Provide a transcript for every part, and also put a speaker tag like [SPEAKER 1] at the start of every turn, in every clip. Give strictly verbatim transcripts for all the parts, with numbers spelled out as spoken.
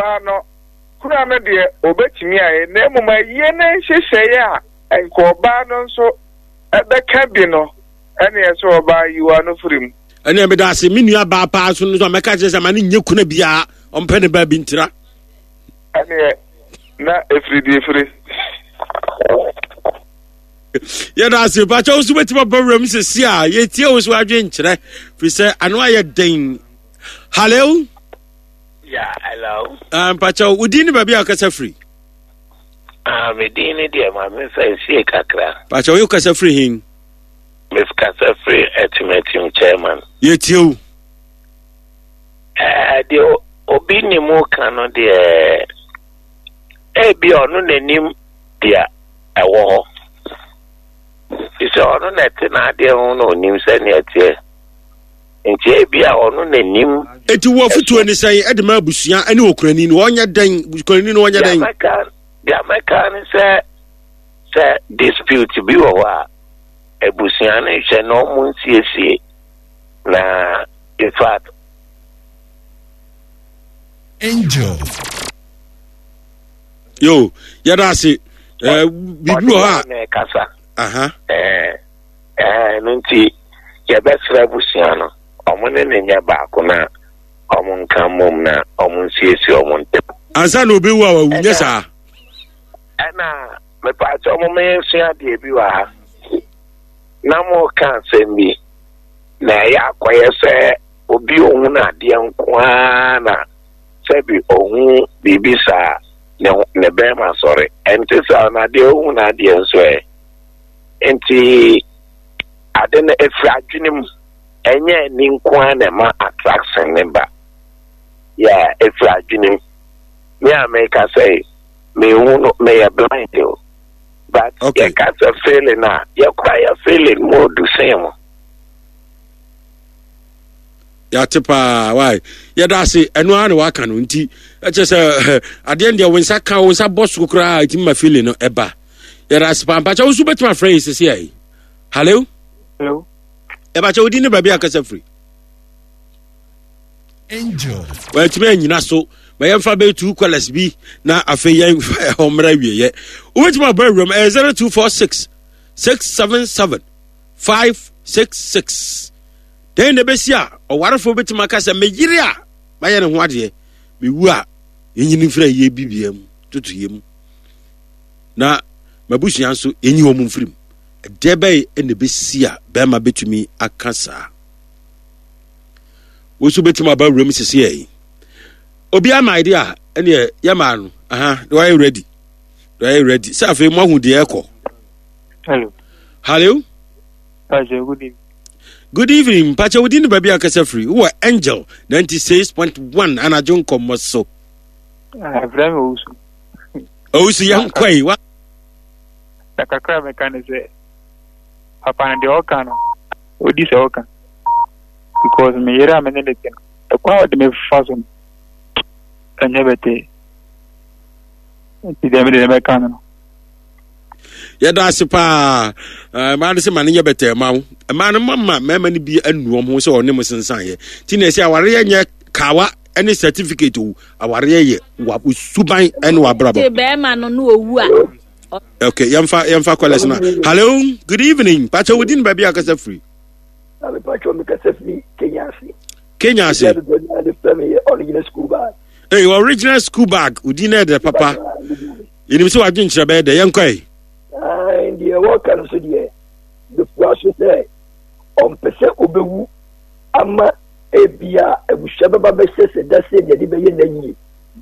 [SPEAKER 1] Ɔbaa no, kura no deɛ ɔbɛtumi ayɛ, na mmom ayie no nhyehyɛeɛ a nka ɔbaa no nso ɛbɛka bi no, ɛneɛ sɛ ɔbaa yi w'ano firi mu.
[SPEAKER 2] Ɛnna meda ase me nua baa paa so no so a mɛka kyerɛ sɛ ma ne nyɛ kuna biara ɔmpɛ ne baa bi ntira.
[SPEAKER 1] Ɛneɛ na ɛfiri deɛ ɛfiri.
[SPEAKER 2] Yɛda ase pakyɛ wo so bɛtumi aba wuram sɛsi a yɛtie wo so adwenkyerɛ firi sɛ ano ayɛ den. Hallo.
[SPEAKER 3] Yeah, hello.
[SPEAKER 2] Uh, mpakyɛ wo din ne baabi a wokasa firi?
[SPEAKER 3] Ah, me din ne deɛ ma memfa nsie kakra.
[SPEAKER 2] Pakyɛ wo kasa firi hin?
[SPEAKER 3] Mekasa firi Atimatim, chairman.
[SPEAKER 2] Yɛtie wo.
[SPEAKER 3] Eh, deɛ obi ne mu ka no deɛ, ebi ɔno n'anim deɛ ɛwɔ hɔ. Fi sɛ ɔno na ɛte n'adeɛ ho na onim sɛnea ɛteɛ. Nti ebi a ɔno n'anim.
[SPEAKER 2] Eti wɔ afutuo ne sɛn ɛde ma abusua ɛne okurani no ɔnyɛ dɛn okurani no ɔnyɛ dɛn?
[SPEAKER 3] Deɛ mɛka ne sɛ sɛ dispute bi wɔ hɔ a, abusua no nhwɛ na ɔmo nsiesie na in fact.
[SPEAKER 2] Angel. Yo, yɛda ase. Eh, biribi wɔ hɔ a.
[SPEAKER 3] Na ɛkasa. Aha. Ɛɛ ɛɛ no nti yɛbɛsrɛ abusua no ɔmo ne ne nyɛ baako na ɔmo nka mmom na ɔmo nsiesie ɔmo ntam.
[SPEAKER 2] Ansa na obi wu a wawu nyɛ saa.
[SPEAKER 3] Ɛna mepaakyɛ ɔmo ma yɛnsua adeɛ bi wɔ ha. Na mo ka asɛm bi na ɛyɛ akɔyɛ sɛ obi ohun adeɛ nko ara na sɛbi ohun biribi saa ne ne bɛrima sɔre. Ɛnte saa na adeɛ ohun adeɛ nso ɛ. Nti ade no efiri adwene mu, ɛnyɛ ani nko ara na ɛma attraction ne ba. Yeah, efiri adwene mu. Me a meka sɛ mehu no meyɛ blind o. But okay. Yɛka sɛ feeling a, yɛkora yɛ feeling mu odu sen mu.
[SPEAKER 2] Yɛate paa wai, yɛda ase. Ɛno ara na waka no nti ɛkyɛ sɛ adeɛ no deɛ wo nsa ka wo nsa bɔ so koraa ɛtumi ma feeling no ɛba. Yɛda ase paa. Mpakyɛ wo nso wobɛtumi afrɛ yi sese ayi. Hallo.
[SPEAKER 4] Hello.
[SPEAKER 2] Ɛbakyɛ wodi ne baabi akasa firi?
[SPEAKER 5] Angel.
[SPEAKER 2] Wɔatumi anyina so ma yɛmfa bɛyɛ two colours bi na afei yɛmfa ɛhɔ mmra awieɛ. Wobɛtumi abɔ awuram ɛyɛ zero two four six six seven seven five six six. Dɛn na ɛbɛsi a ɔwarefoɔ bɛtumi aka sɛ meyere a mayɛ ne ho adeɛ, mewu a yɛnyini mfiri ayie bibia mu totoyɛ mu na mabusua nso yɛnyi wɔn mfiri mu? Ɛdeɛ bɛyɛ na ɛbɛsi a bɛrima bɛtumi aka saa? Wo nso bɛtumi aba wuram sisi yɛ obi ama idea ɛneɛ yɛmaa no aha na wayɛ ready na wayɛ ready sɛ afei mo ahu deɛ ɛkɔ.
[SPEAKER 4] Hello.
[SPEAKER 2] Hello.
[SPEAKER 4] Pastor, good evening.
[SPEAKER 2] Good evening. Mpakyɛ wodi ne baabi akasa firi? Wowɔ Angel ninety-six point one anadwo nkɔmmɔ so.
[SPEAKER 4] Ɛfrɛ me Owusu.
[SPEAKER 2] Owusu, yɛnkɔ yi wa.
[SPEAKER 4] Na kakra mɛka ne sɛ papa no deɛ ɔka no ɔdi sɛ ɔka, because me yere a me ne ne te no, ɛkwan a ɔde me fa so no ɛnyɛ bɛtɛɛ, nti deɛ mede ne bɛka no no
[SPEAKER 2] Yɛda ase paa. Mmaa no sɛ ma no nyɛ bɛtɛɛ ma wo. Mmaa no mama mmarima no bi anu wɔn ho sɛ ɔne mo sensan yɛ nti na ɛsɛ awareɛ nyɛ kawa ne certificate o. Awareɛ yɛ wa suban ne wabrabɔ.
[SPEAKER 6] Te bɛrima no no owu a.
[SPEAKER 2] Okay, yɛmfa yɛmfa callers na. Hello, good evening. Pakyɛ wodi ne baabi a kasa firi?
[SPEAKER 7] Na mepakyɛ mekasa firi Kenya ase.
[SPEAKER 2] Kenya ase.
[SPEAKER 7] Original school bag.
[SPEAKER 2] Hey, original school bag, wodi na ɛdɛ papa. Yɛnim sɛ wadwe nkyerɛ bɛyɛ dɛ. Yɛnkɔ yi.
[SPEAKER 7] Deɛ wɔka no so deɛ, mefua so sɛ ɔmpɛ sɛ ɔbɛwu ama ebia abusua bɛba bɛhyɛ sɛ da sɛ deɛ de bɛyɛ na yie,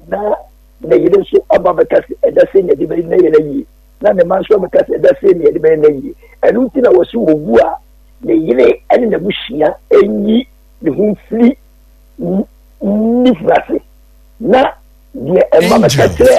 [SPEAKER 7] na ne yere nso aba bɛka sɛ ɛda sɛ deɛ de bɛyɛ na yɛ na yie, na ne ma nso abɛka sɛ ɛda sɛ deɛ de bɛyɛ na yie. Ɛno nti na wɔsi wɔwu a, ne yere ne n'abusua nyi ne ho mfiri ne funu ase na deɛ ɛma bɛka kyerɛ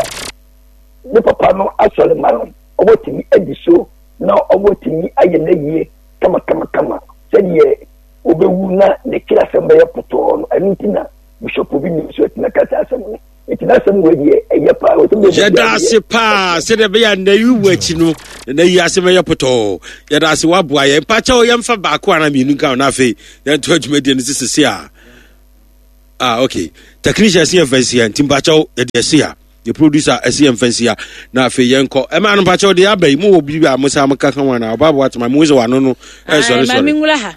[SPEAKER 7] ne papa no asɔre ma no ɔbɛtumi adi so na ɔbɛtumi ayɛ n'ayie kamakamakama sɛdeɛ ɔbɛwu na ne kiri asɛm bɛyɛ pɔtɔɔ no. Ɛno nti na Bishop Obi nim so atumi aka saa asɛm no, nti n'asɛm wɔ deɛ ɛyɛ paa.
[SPEAKER 2] Yɛda ase paa sɛdeɛ ɛbɛyɛ a nna yi wu akyi no na yi ase bɛyɛ pɔtɔɔ. Yɛda ase, woaboa yɛn. Mpakyɛw, yɛmfa baako anaa mmienu nka ho na afei yɛnto adwumadie no sesese a. Ah, okay. Technician si yɛn fɛn si ha nti mpakyɛw yɛde ɛsi ha. Yɛ producer ɛsi yɛn fɛn si ha. Na afei yɛn kɔ. Ɛmaa no mpakyɛw deɛ aba yi mo wɔ biribi a mo sa mo ka ka ho anaa ɔbaa bo atema mo sɛ wano no ɛsɔre sɔre.
[SPEAKER 6] Maame nwura ha.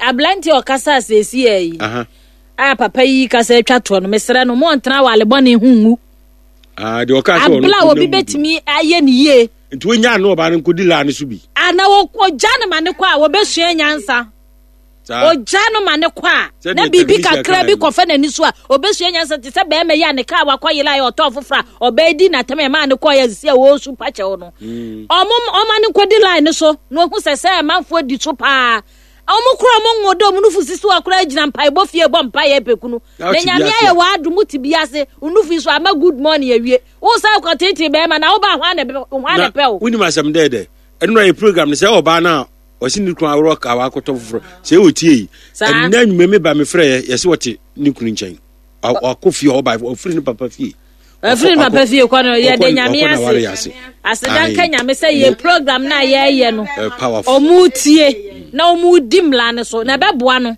[SPEAKER 6] Aberante ɔkasa asɛsi yɛ yi. A papa yi kasa atwa toɔ no mesrɛ no mo ntena wale bɔne ho ngu.
[SPEAKER 2] Ah, deɛ ɔka sɛ ɔno
[SPEAKER 6] abla obi betumi ayɛ ne yie.
[SPEAKER 2] Nti wonya no ɔbaa no nkɔdi laa no so bi.
[SPEAKER 6] Ana wɔgya no ma ne kɔ a wɔbɛsua nyansa. Ogya no ma ne kɔ a na biribi kakra bi kɔfa n'ani so a obɛsua nyansa te sɛ bɛrima yi a ne kaa wakɔ yela yɛ ɔtɔɔ foforɔ a ɔbɛɛ di n'atam ɛmaa ne kɔɔ yɛ sisi a wɔresu pakyɛw no. Ɔmo ɔma no nkɔdi line no so na ohu sɛ sɛ amanfoɔ di so paa. Ɔmo kora ɔmo ngo dɛ ɔmo nufu sisi hɔ koraa gyina mpaebɔ fie bɔ mpaeɛ pɛkunu. Na nyame ayɛ w'adom te bi ase nufu yi so ama good morning awie. Wo sa kɔ tete bɛrima na woba hwan na hwan na pɛ wo.
[SPEAKER 2] Wonim asɛm dɛ dɛ ɛno yɛ program no sɛ ɔbaa no a ɔse ne kunu aworɔ ka wakɔtɔ foforɔ sɛ ɛwɔ tie yi ɛnna anwuma me ba mefrɛ yɛ yɛse wɔte ne kunu nkyɛn ɔkɔ fie ɔba ɔfiri ne papa fie
[SPEAKER 6] ɔfiri ne papa fie kɔ no yɛde nyame ase aseda nka nyame sɛ yɛ program no a yɛyɛ no ɔmo tie na ɔmo di mmara no so na ɛbɛboa no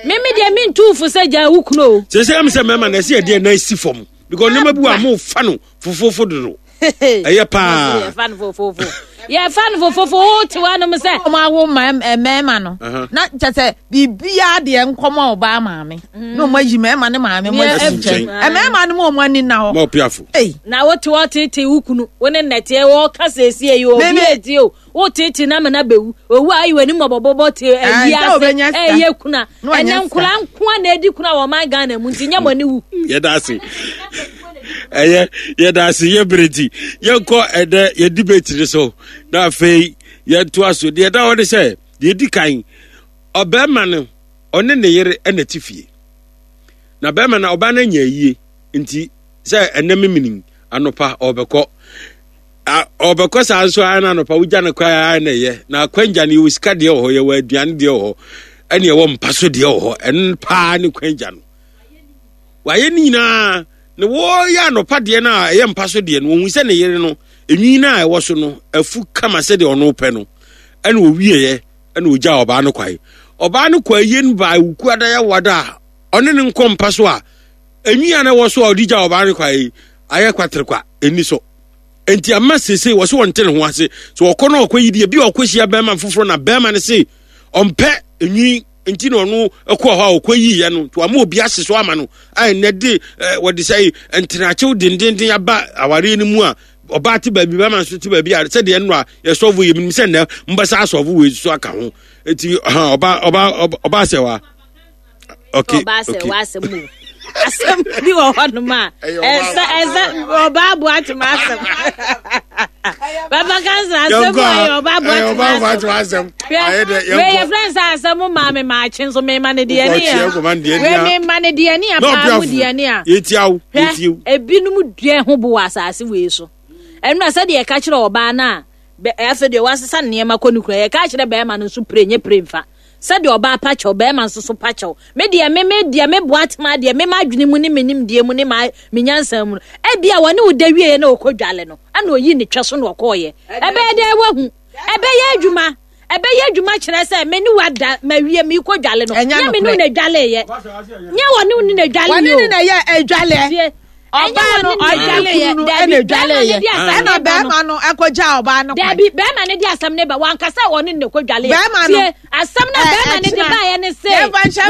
[SPEAKER 6] meme deɛ mentu fo sɛ gyaa wo kunu o
[SPEAKER 2] sɛ sɛ ɛm sɛ mmarima na ɛsɛ yɛdeɛ na asi fam because nneɛma bi wɔ a mofa no fofofo dodo ɛyɛ paa
[SPEAKER 6] yɛfa no fofofo yɛfa no fofofo wote hɔ nom sɛ
[SPEAKER 5] ɔmo awo mmarima no na kyɛ sɛ biribiara deɛ nkɔmɔ ɔbaa maame na ɔmo ayi mmarima ne maame mo asi nkyɛn mmarima no mo ɔmo ani na hɔ
[SPEAKER 2] ma ɔpiafo
[SPEAKER 6] na wote hɔ tete wo kunu wo ne nnɛteɛ wɔka sɛ esie yi obi etie o wo tete na mena bɛwu owu a ayi w'anim bɔbɔbɔbɔ te ayi ase ɛyɛ kuna ɛnɛ nkora nkoa na edi kuna wɔ ɔman Ghana mu nti nyɛ mo ani wu.
[SPEAKER 2] Yɛda ase ɛyɛ yɛda ase yɛ bere ti yɛnkɔ ɛdɛ yɛ debate ne so na afei yɛntoa so deɛ ɛda hɔ ne sɛ deɛ edi kan ɔbɛrima no ɔne ne yere ɛna ti fie na bɛrima no ɔbaa no anya ayie nti sɛ ɛnɛ memini anɔpa ɔbɛkɔ ɔbɛkɔ saa nso ara na anɔpa wogya no kwan ara na ɛyɛ na akwangya no yɛwɔ sika deɛ wɔ hɔ yɛwɔ aduane deɛ wɔ hɔ ɛne ɛwɔ mpa so deɛ wɔ hɔ ɛno paa ne kwangya no wayɛ ne nyinaa na wɔyɛ anɔpa deɛ no a ɛyɛ mpa so deɛ no wɔhu sɛ ne yere no enwi no a ɛwɔ so no afu kama sɛdeɛ ɔno pɛ no ɛna ɔwieɛ ɛna ɔgya ɔbaa no kwae ɔbaa no kɔ ayie no baa wuku adayɛ wada a ɔne ne nkɔ mpa so a enwi a na ɛwɔ so a ɔde gya ɔbaa no kwae ayɛ kwaterekwa ɛni so nti ama sese wɔ so wɔnte ne ho ase so ɔkɔ no ɔkɔ yi deɛ bi ɔkɔ hyia bɛrima foforɔ na bɛrima no se ɔmpɛ enwi nti na ɔno ɛkɔ hɔ a ɔkɔ yi yɛ no to ama obi ase so ama no a ɛnɛ de ɛɛ wɔde sɛ ntenakyew dendenden aba awareɛ no mu a ɔbaa te baabi bɛrima nso te baabi a sɛdeɛ ɛno a yɛsɔfo yɛ minim sɛ nnɛ mbɛsa asɔfo wei so aka ho eti ɔba ɔba ɔba asɛ wa. Okay,
[SPEAKER 6] ɔbaa sɛ okay. W'asɛm o asɛm bi wɔ hɔnom a ɛsɛ ɛsɛ ɔbaa bo atem asɛm papa kansa asɛm a ɛyɛ ɔbaa bo atem asɛm hwɛ wei yɛ fɛn sɛ asɛm maame maakye nso mema ne deɛ ne a wei mema ne deɛ ne a paa mu deɛ ne a hwɛ ebinom dua ho bo wɔ asase wei so ɛnu a sɛdeɛ ɛka kyerɛ ɔbaa no a afei deɛ wasesa nneɛma kɔ ne kura yɛka kyerɛ bɛrima no nso pire nye pire nfa. Sɛdeɛ ɔbaa pa kyɛw, barima nso so pa kyɛw. Me deɛ, me me deɛ, me boatema deɛ, me m'adwene mu ne me nimdeɛ mu ne ma me nyansa mu no, ebia wɔne wo da wieɛ na ɔkɔ dwale no, ɛna ɔyi ne twɛ so na ɔkɔɔyɛ. Ɛbɛyɛ dɛ wahu. Ɛbɛyɛ adwuma. Ɛbɛyɛ adwuma kyerɛ sɛ me ne wada mawie meekɔ dwale no. Nyɛ me ne wo na dwaleeɛ. Nyɛ wɔne wo ne na dwaleeɛ o.
[SPEAKER 5] Wɔne ne na yɛ adwaleɛ. Ɔbaa no ɔne ne kunu no ɛna dwaleeɛ. Ɛna bɛrima no ɛkɔgya ɔbaa no kwan.
[SPEAKER 6] Dabi bɛrima no de asɛm ne ba wankasa ɔne ne kɔ dwaleeɛ.
[SPEAKER 5] Bɛrima no
[SPEAKER 6] tie asɛm na bɛrima no de baeɛ ne se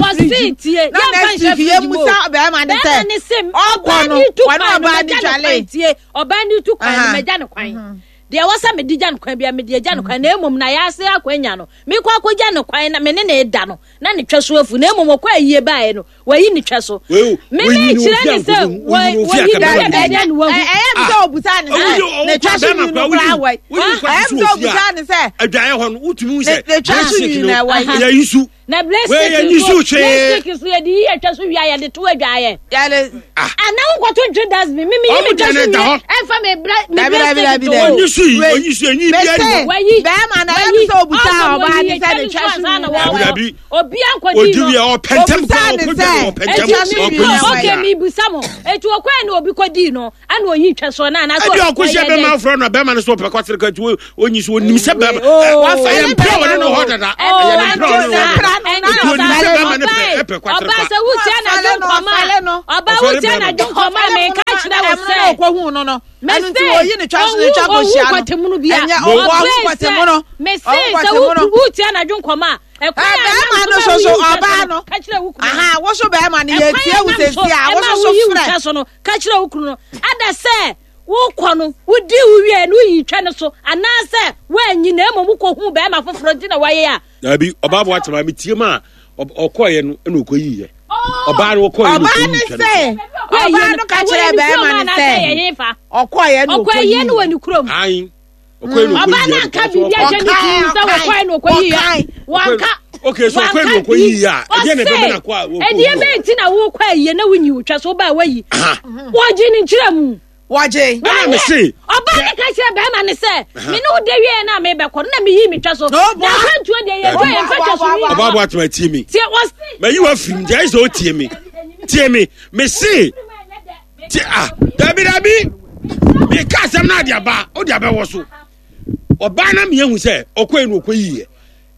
[SPEAKER 6] wɔse tie
[SPEAKER 5] na next week yɛ musa bɛrima ne sɛ
[SPEAKER 6] ne se
[SPEAKER 5] ɔkɔ no ɔne ɔbaa ne dwale
[SPEAKER 6] tie ɔbaa ne tu kwan no mɛgya ne kwan deɛ ɛwɔ sɛ mede gya no kwan bia mede agya no kwan na mmom na yɛase akwanya no mekɔ akɔgya no kwan na me ne ne da no na ne twɛ so afu na mmom ɔkɔ ayie baeɛ no wayi ne twɛ so meme kyerɛ ne sɛ wayi ne fie bɛyɛ ne wahu
[SPEAKER 5] ɛyɛ mi sɛ obusa ne sɛ ne twɛ so nwi no koraa wɔ ɛyɛ mi sɛ obusa ne sɛ
[SPEAKER 2] adwaeɛ hɔ no wotumi sɛ
[SPEAKER 5] ne twɛ so nwi na ɛwɔ
[SPEAKER 2] yɛyi su
[SPEAKER 6] na blessing nso blessing so yɛde yi atwa so wia yɛde to adwaeɛ
[SPEAKER 5] yɛde
[SPEAKER 6] ana wokɔto ntwe dustbin mimi yi mi twa so wie ɛmfa me brɛ me blessing to
[SPEAKER 2] onyi so yi onyi so enyi bi ani
[SPEAKER 6] wayi
[SPEAKER 5] bɛrima na ɛyɛ mi sɛ obusa ɔbaa ne sɛ ne twa so nwi
[SPEAKER 2] dabi dabi
[SPEAKER 6] obi ankɔdi
[SPEAKER 2] odi wia ɔpɛntɛm kɔ ɔkɔdwa ɔpɛntɛm ɔkɔyi
[SPEAKER 6] okay mi busa mo etu ɔkɔɛ na obi kɔdi no ɛna oyi twa so na anaasɛ
[SPEAKER 2] ɛbi ɔkɔhyia bɛrima aforɔ na bɛrima no so ɔpɛ kɔtere ka nti onyi so onim sɛ bɛrima ɛyɛ mpira ɔne no hɔ dada ɛyɛ ne mpira ɔne no hɔ dada Eti onim sɛ bɛrima no pɛ ɛpɛ kwatere
[SPEAKER 6] Ɔbaa
[SPEAKER 2] kwa.
[SPEAKER 6] sɛ wotia n'adwo nkɔmɔ a, ɔbaa
[SPEAKER 2] Ɔfɛre
[SPEAKER 6] wotia
[SPEAKER 2] bɛrima.
[SPEAKER 6] n'adwo nkɔmɔ a, meka kyerɛ wo
[SPEAKER 5] Ɛmuna
[SPEAKER 6] sɛ
[SPEAKER 5] na ɔkɔhu no no. Ɛno nti
[SPEAKER 6] Mese,
[SPEAKER 5] wɔyi ne twa so ne
[SPEAKER 6] owu
[SPEAKER 5] twa
[SPEAKER 6] owu
[SPEAKER 5] kɔhyia no.
[SPEAKER 6] kwatemu bia.
[SPEAKER 5] Ɛnyɛ
[SPEAKER 2] Mo-
[SPEAKER 5] ɔwɔ
[SPEAKER 6] Ɔbaa
[SPEAKER 5] kwatemu no.
[SPEAKER 6] sɛ, mese
[SPEAKER 5] Ɔwɔ
[SPEAKER 6] sɛ
[SPEAKER 5] kwatemu no.
[SPEAKER 6] wo- wotia n'adwo nkɔmɔ a, ɛkwan
[SPEAKER 5] Ɛ,
[SPEAKER 6] a
[SPEAKER 5] bɛrima
[SPEAKER 6] ɛnam
[SPEAKER 5] no
[SPEAKER 6] so
[SPEAKER 5] so
[SPEAKER 6] ma
[SPEAKER 5] so
[SPEAKER 6] woyi wo twa
[SPEAKER 5] ɔbaa
[SPEAKER 6] so
[SPEAKER 5] no.
[SPEAKER 6] ka kyerɛ wo kunu no.
[SPEAKER 5] Aha, wo so bɛrima no yɛ
[SPEAKER 6] Ɛkwan
[SPEAKER 5] tie
[SPEAKER 6] a
[SPEAKER 5] wo
[SPEAKER 6] ɛnam so
[SPEAKER 5] sɛsi a wo
[SPEAKER 6] ɛma
[SPEAKER 5] so so
[SPEAKER 6] woyi wo
[SPEAKER 5] frɛ.
[SPEAKER 6] twa so no, ka kyerɛ wo kunu no. Ada sɛ wokɔ no, wodi wo wie no, woyi twa no so, anaasɛ woanyi na mmom wokɔhu bɛrima foforɔ nti na wayɛ a.
[SPEAKER 2] Dabi, ɔbaa bo atema me tie mu a ɔb- ɔkɔɔyɛ no ɛna ɔkɔyiiɛ. Ɔbaa no ɔkɔɔyɛ no
[SPEAKER 5] Ɔbaa
[SPEAKER 2] ɔkɔyii
[SPEAKER 5] ne
[SPEAKER 2] twa no
[SPEAKER 5] sɛ
[SPEAKER 2] so.
[SPEAKER 5] ɔbaa no ka kyerɛ bɛrima no sɛ ɔkɔɔyɛ no
[SPEAKER 6] Ɔkɔ ayie no wɔ
[SPEAKER 5] ɔkɔyii.
[SPEAKER 6] ne kurom.
[SPEAKER 2] Ayi. Ɔkɔɔyɛ no
[SPEAKER 6] Ɔbaa
[SPEAKER 2] ɔkɔyiiɛ.
[SPEAKER 6] no anka biribi akyɛ ne kunu sɛ wɔkɔɛ no ɔkɔyiiɛ.
[SPEAKER 5] Ɔkae.
[SPEAKER 6] Wanka.
[SPEAKER 2] Okay, so ɔkɔɛ no ɔkɔyiiɛ a, ɛdeɛ na ɛbɛma no akɔ a wɔkɔ
[SPEAKER 6] Ɛdeɛ
[SPEAKER 2] wu.
[SPEAKER 6] bɛn nti na wokɔ ayie na wonyi wo twa so wobaa wayi.
[SPEAKER 2] Aha.
[SPEAKER 6] Wɔgye ne nkyerɛ mu.
[SPEAKER 5] Wɔgye.
[SPEAKER 2] Ɛna me se,
[SPEAKER 6] Ɔbaa ne ka kyerɛ bɛrima ne sɛ, me ne wo da wie na mebɛkɔ no na meyi me twa so.
[SPEAKER 5] Na ɔboa.
[SPEAKER 6] Na akwantuo deɛ yɛtwa yɛmfa twa so nwi.
[SPEAKER 2] Ɔbaa bo atema tie mi.
[SPEAKER 6] Tie wɔse.
[SPEAKER 2] Mayi wa firim nti ayɛ sɛ ɔtie mi. Tie mi. Me se, tie ah, dabi dabi. Meka asɛm no ade aba, wode abɛwɔ so. Ɔbaa na meahu sɛ ɔkɔɛ no ɔkɔyiiɛ.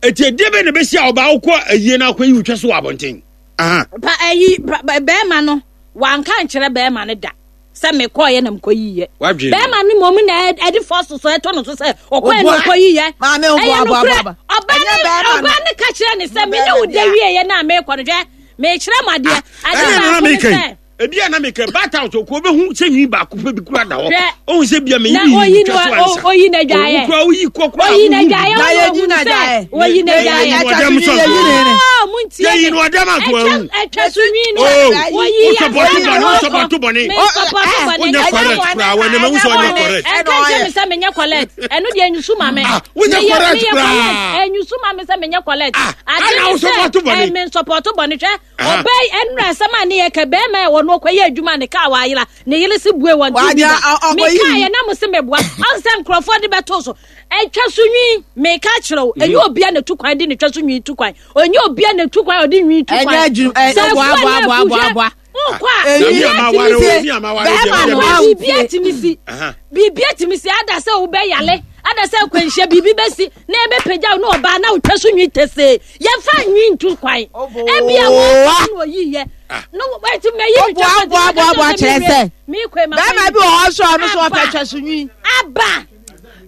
[SPEAKER 2] Eti ɛdeɛ bɛn na ɛbɛsi a ɔbaa wokɔ ayie na akɔyi wo twa so wɔ abɔnten? Aha.
[SPEAKER 6] Pa ayi pa- ba- bɛrima no wanka nkyerɛ bɛrima no da sɛ mekɔɔyɛ na mekɔyiiɛ.
[SPEAKER 2] Wadwene.
[SPEAKER 6] Bɛrima no mmom na ɛ- ɛde fɔso so ɛtɔ no so sɛ ɔkɔɛ na
[SPEAKER 5] Oboa.
[SPEAKER 6] ɔkɔyiiɛ.
[SPEAKER 5] Maame, oboa,
[SPEAKER 6] Ɛyɛ
[SPEAKER 5] oboa,
[SPEAKER 6] nokorɛ.
[SPEAKER 5] oboa.
[SPEAKER 6] Ɔbaa
[SPEAKER 5] Ɛnyɛ
[SPEAKER 6] ne
[SPEAKER 5] bɛrima no.
[SPEAKER 6] ɔbaa ne ka kyerɛ ne sɛ me ne wo da wieɛ na mekɔ no hwɛ mekyerɛ mo adeɛ. Ade
[SPEAKER 2] Ɛna na
[SPEAKER 6] baako ne
[SPEAKER 2] meka yi.
[SPEAKER 6] sɛ
[SPEAKER 2] Ebi a na meka bata so ko obehu sɛ nwi baako pɛ bi kura da hɔ.
[SPEAKER 6] Hwɛ.
[SPEAKER 2] Ohun sɛ bia me
[SPEAKER 6] Na
[SPEAKER 2] yi
[SPEAKER 6] oyi
[SPEAKER 2] twa
[SPEAKER 6] no-
[SPEAKER 2] so ansa.
[SPEAKER 6] o- oyi na dwaeɛ.
[SPEAKER 2] Owu kura oyi kɔ kura.
[SPEAKER 6] Oyi na dwaeɛ
[SPEAKER 5] Na
[SPEAKER 6] ɔno
[SPEAKER 5] yɛyi
[SPEAKER 6] ohun
[SPEAKER 5] na
[SPEAKER 6] sɛ
[SPEAKER 5] dwaeɛ.
[SPEAKER 6] oyi na
[SPEAKER 5] Yɛyi
[SPEAKER 6] dwaeɛ.
[SPEAKER 5] na
[SPEAKER 2] Ɔdɛm so.
[SPEAKER 5] yɛyi ne ne.
[SPEAKER 6] Oh, montie
[SPEAKER 2] Yɛyi
[SPEAKER 6] me.
[SPEAKER 2] no ɔdɛm ato
[SPEAKER 6] Ɛtwa-
[SPEAKER 2] awu.
[SPEAKER 6] ɛtwa so nwi no.
[SPEAKER 2] Oh,
[SPEAKER 6] Woyi
[SPEAKER 2] wo support
[SPEAKER 6] asɛm
[SPEAKER 2] bɔne,
[SPEAKER 6] na
[SPEAKER 2] wo
[SPEAKER 6] wɔkɔ.
[SPEAKER 2] support bɔne.
[SPEAKER 6] Me
[SPEAKER 5] Oh,
[SPEAKER 6] support
[SPEAKER 5] eh,
[SPEAKER 6] bɔne.
[SPEAKER 2] Wonyɛ
[SPEAKER 6] Ɛnyɛ
[SPEAKER 2] correct
[SPEAKER 6] bɔne.
[SPEAKER 2] koraa, wɔn anim ahu sɛ ɔnyɛ
[SPEAKER 6] Ɛnyɛ
[SPEAKER 2] correct.
[SPEAKER 6] Ɛnka nkyerɛ me sɛ menyɛ collect. Ɛno deɛ ɛnyusu ma me.
[SPEAKER 2] Ah, wonyɛ
[SPEAKER 6] Meyɛ-
[SPEAKER 2] correct
[SPEAKER 6] meyɛ
[SPEAKER 2] koraa.
[SPEAKER 6] collect. Ɛnyusu ma me sɛ menyɛ collect.
[SPEAKER 2] Ah,
[SPEAKER 6] Ade
[SPEAKER 2] ɛna
[SPEAKER 6] ne
[SPEAKER 2] wo
[SPEAKER 6] sɛ,
[SPEAKER 2] support bɔne.
[SPEAKER 6] eh, me support bɔne. Hwɛ,
[SPEAKER 2] Aha.
[SPEAKER 6] ɔbaa yi, ɛnora asɛm a ne yɛ ka, bɛrima a wɔno ɔkɔyɛ adwuma ne kaa wɔayera, ne yere se bue wɔn ti
[SPEAKER 5] Wagya,
[SPEAKER 6] bi da.
[SPEAKER 5] ɔ- ɔkɔyi.
[SPEAKER 6] Mekaa yɛ na mo se meboa. Ɔn sɛ nkurɔfoɔ de bɛto so. Ɛtwa so nwi, meka kyerɛ wo, ɛnyɛ obia na tu kwan de ne twa so nwi tu kwan. Ɛnyɛ obia na tu kwan ɔde nwi tu kwan.
[SPEAKER 5] Ɛnyɛ adwuma- ɛ,
[SPEAKER 6] Sɛ
[SPEAKER 5] boa,
[SPEAKER 6] afuo
[SPEAKER 5] boa,
[SPEAKER 6] ne
[SPEAKER 5] boa,
[SPEAKER 6] afu,
[SPEAKER 5] boa,
[SPEAKER 6] hwɛ,
[SPEAKER 5] boa.
[SPEAKER 6] wokɔ a,
[SPEAKER 5] Eyi-
[SPEAKER 6] biribi
[SPEAKER 2] Sɛ mi ama
[SPEAKER 6] atumi
[SPEAKER 2] ware o,
[SPEAKER 6] si.
[SPEAKER 2] mi ama ware
[SPEAKER 5] Bɛrima
[SPEAKER 2] deɛ,
[SPEAKER 5] no
[SPEAKER 2] mi
[SPEAKER 5] a-
[SPEAKER 2] deɛ.
[SPEAKER 6] Biribi atumi si.
[SPEAKER 2] Aha.
[SPEAKER 6] Biribi atumi si ada sɛ wobɛyale ada sɛ akwanhyia biribi bɛsi na ɛbɛpagya wo ne ɔbaa na wotwa so nwi tɛsee. Yɛmfa nwi nto kwan. Ebia wɔn na ɔyiyɛ. No, ɛti mɛyi mi twa so
[SPEAKER 5] Boa, boa, boa, boa, kyerɛ sɛ.
[SPEAKER 6] Meekɔ ma
[SPEAKER 5] Bɛrima bi wɔ hɔ nso a ɔno nso ɔpɛ twa so nwi.
[SPEAKER 6] Aba.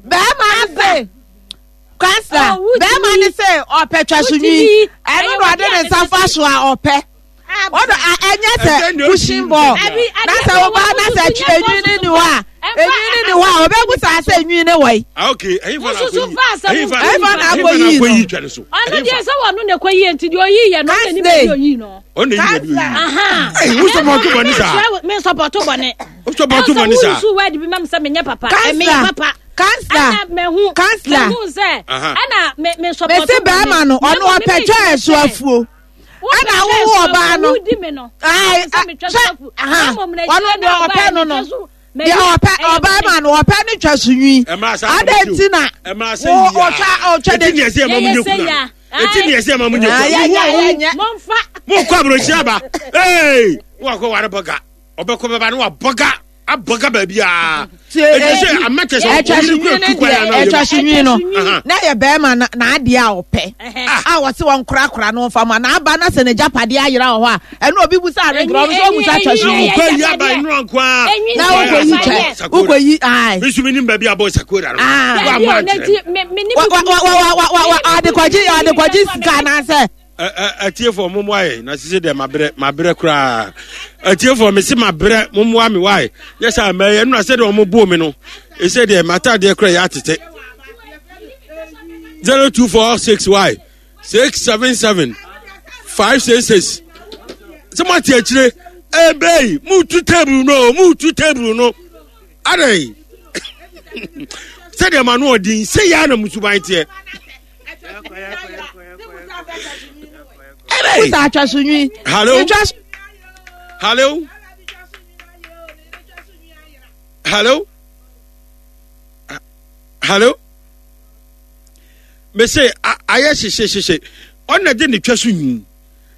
[SPEAKER 5] Bɛrima no se kansa.
[SPEAKER 6] Oh, wotumi
[SPEAKER 5] Bɛrima no se ɔpɛ twa so nwi.
[SPEAKER 6] Wotumi.
[SPEAKER 5] Ɛno na ɔde ne nsa fa so a ɔpɛ. Ɔdɔ a ɛnyɛ
[SPEAKER 2] Ɛdɛn
[SPEAKER 5] sɛ
[SPEAKER 2] na
[SPEAKER 5] pushing
[SPEAKER 2] otumi
[SPEAKER 5] ball.
[SPEAKER 6] Abi,
[SPEAKER 5] Na
[SPEAKER 6] ade-
[SPEAKER 5] sɛ ɔbaa na sɛ
[SPEAKER 6] wosusu nyɛ
[SPEAKER 5] enwi ne
[SPEAKER 6] bɔɔso
[SPEAKER 5] ni hɔ a
[SPEAKER 6] so.
[SPEAKER 5] enwi ne ni hɔ a ɔbɛbu saa sɛ enwi ne wɔ yi.
[SPEAKER 2] Ah, okay. Ɛyin fa na
[SPEAKER 6] Wosusu
[SPEAKER 2] akɔyi.
[SPEAKER 6] fa asɛm
[SPEAKER 2] Ɛyin fa
[SPEAKER 5] Ɛyin fa na
[SPEAKER 2] ɛyin
[SPEAKER 5] akɔyi no.
[SPEAKER 2] akɔyi twa ne so.
[SPEAKER 6] Ɔno
[SPEAKER 2] Ɛyin
[SPEAKER 6] deɛ
[SPEAKER 2] fa.
[SPEAKER 6] sɛ wɔno na ɛkɔyie nti deɛ ɔyiiɛ no ɔna nipa
[SPEAKER 5] Kansley.
[SPEAKER 6] bi ɔyii no.
[SPEAKER 2] Ɔno na eyi na bi oyi.
[SPEAKER 6] Aha.
[SPEAKER 2] Ɛy, wo support bɔne saa.
[SPEAKER 6] Me support bɔne.
[SPEAKER 2] Wo support bɔne saa.
[SPEAKER 6] Ɛwɔ sɛ woyusu word bi ma me sɛ menyɛ papa.
[SPEAKER 5] Kansla.
[SPEAKER 6] Ɛmeyɛ papa.
[SPEAKER 5] Kansla.
[SPEAKER 6] Ɛna mehu.
[SPEAKER 5] Kansla.
[SPEAKER 6] Mehu sɛ.
[SPEAKER 2] Aha.
[SPEAKER 6] Ɛna me me support
[SPEAKER 5] Mesi bɛrima no ɔno
[SPEAKER 6] Na mmom
[SPEAKER 5] ɔpɛ
[SPEAKER 6] me
[SPEAKER 5] twa
[SPEAKER 6] mekyerɛ
[SPEAKER 5] ɛso
[SPEAKER 6] sɛ,
[SPEAKER 5] afuo.
[SPEAKER 6] wopɛ
[SPEAKER 5] Ɛna
[SPEAKER 6] twa
[SPEAKER 5] wowo
[SPEAKER 6] ɛso
[SPEAKER 5] ɔbaa
[SPEAKER 6] afuo,
[SPEAKER 5] no.
[SPEAKER 6] wodi me no.
[SPEAKER 5] Ae,
[SPEAKER 6] Sɛ metwa so
[SPEAKER 5] sɛ-
[SPEAKER 6] afuo.
[SPEAKER 5] aha.
[SPEAKER 6] Na mmom na
[SPEAKER 5] Ɔno
[SPEAKER 6] akyire
[SPEAKER 5] deɛ
[SPEAKER 6] na
[SPEAKER 5] ɔpɛ
[SPEAKER 6] ɔbaa
[SPEAKER 5] no no.
[SPEAKER 6] metwa so-
[SPEAKER 5] Deɛ ɔpɛ ɔbaa ma no ɔpɛ ne twa so nwi.
[SPEAKER 2] Ɛmra saa
[SPEAKER 5] Adɛn
[SPEAKER 2] asɛm
[SPEAKER 5] nti na
[SPEAKER 2] Ɛmra sɛ
[SPEAKER 5] wo
[SPEAKER 2] yia.
[SPEAKER 5] ɔtwa ɔtwa
[SPEAKER 2] Eti
[SPEAKER 5] de
[SPEAKER 2] ni ɛsɛ ɛma mo
[SPEAKER 6] Yɛyɛ
[SPEAKER 2] nye
[SPEAKER 6] sɛ
[SPEAKER 2] kuna.
[SPEAKER 6] ya.
[SPEAKER 2] Eti ni ɛsɛ ɛma mo nye
[SPEAKER 5] Ah,
[SPEAKER 2] kuna.
[SPEAKER 5] yɛ-
[SPEAKER 2] Wo-
[SPEAKER 5] yɛ-
[SPEAKER 2] wo-
[SPEAKER 5] yɛ- nyɛ.
[SPEAKER 6] Momfa.
[SPEAKER 2] Mo kɔ aburokyi aba. Ee, wo akɔ ware bɔga. Ɔbɛkɔ bɛba ne wa bɔga. Abɔga baabi a.
[SPEAKER 5] Tie,
[SPEAKER 2] Eti
[SPEAKER 5] eh,
[SPEAKER 2] sɛ ama kyɛ sɛ
[SPEAKER 5] ɛtwa so
[SPEAKER 2] ɔyere
[SPEAKER 5] nwi
[SPEAKER 2] kura
[SPEAKER 5] ne
[SPEAKER 2] tu kwan
[SPEAKER 5] deɛ
[SPEAKER 2] anaa
[SPEAKER 5] ɛtwa so nwi no
[SPEAKER 2] Aha.
[SPEAKER 5] na yɛ bɛrima na n'adeɛ a ɔpɛ
[SPEAKER 6] Ɛhɛ.
[SPEAKER 5] a wɔte wɔn korakora no nfa mu a n'aba na sɛ n'agyapadeɛ ayera wɔ hɔ a ɛno obi busa aregra ɔno nso ɔbusa atwa so
[SPEAKER 2] Na
[SPEAKER 5] nwi
[SPEAKER 2] wokɔ yi aba nnura nko a.
[SPEAKER 6] Enwi
[SPEAKER 5] na
[SPEAKER 6] sɛ
[SPEAKER 5] wokɔ yi
[SPEAKER 6] afa
[SPEAKER 5] twɛ
[SPEAKER 6] yɛ.
[SPEAKER 2] Sakora.
[SPEAKER 5] wokɔ yi ae
[SPEAKER 2] Me nso menim baabi a bɔ sakora no.
[SPEAKER 5] Ah.
[SPEAKER 2] Wo
[SPEAKER 6] Dabi
[SPEAKER 2] amma
[SPEAKER 6] o, na
[SPEAKER 2] ankyerɛ
[SPEAKER 6] nti
[SPEAKER 2] me.
[SPEAKER 6] me me ne
[SPEAKER 5] wa
[SPEAKER 6] me
[SPEAKER 5] wa
[SPEAKER 6] kunu-
[SPEAKER 5] wa wa wa wa wa adekɔgye adekɔgye sika anaasɛ
[SPEAKER 2] Ɛ- ɛ- atiefoɔ mommoa yɛ na sese deɛ mabrɛ mabrɛ koraa. Atiefoɔ mese mabrɛ, mommoa me wae. Nyɛ sɛ mɛyɛ no na sɛdeɛ ɔmo boo me no ɛsɛ deɛ m'atadeɛ koraa yɛ atete. Zero two four six y six seven seven five six six. Sɛ moate akyire ebei mutu table no mutu table no adɛn sɛdeɛ ma no ɔden sɛ yɛ na musuban teɛ. Ebei.
[SPEAKER 5] busa atwa so nwi
[SPEAKER 2] Hello?
[SPEAKER 5] Atwa so-
[SPEAKER 2] Hello? Hello? Hello? Me se ayɛ hyehyɛ hyehyɛ ɔna de ne twa so nwi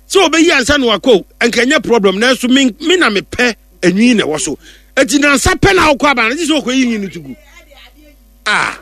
[SPEAKER 2] sɛ ɔbɛyi ansa na wakɔ nka nyɛ problem, nanso me me na mepɛ enwi na ɛwɔ so eti nansa pɛ na akɔ aba na gye sɛ ɔkɔ yi nwi no tugu. Ah.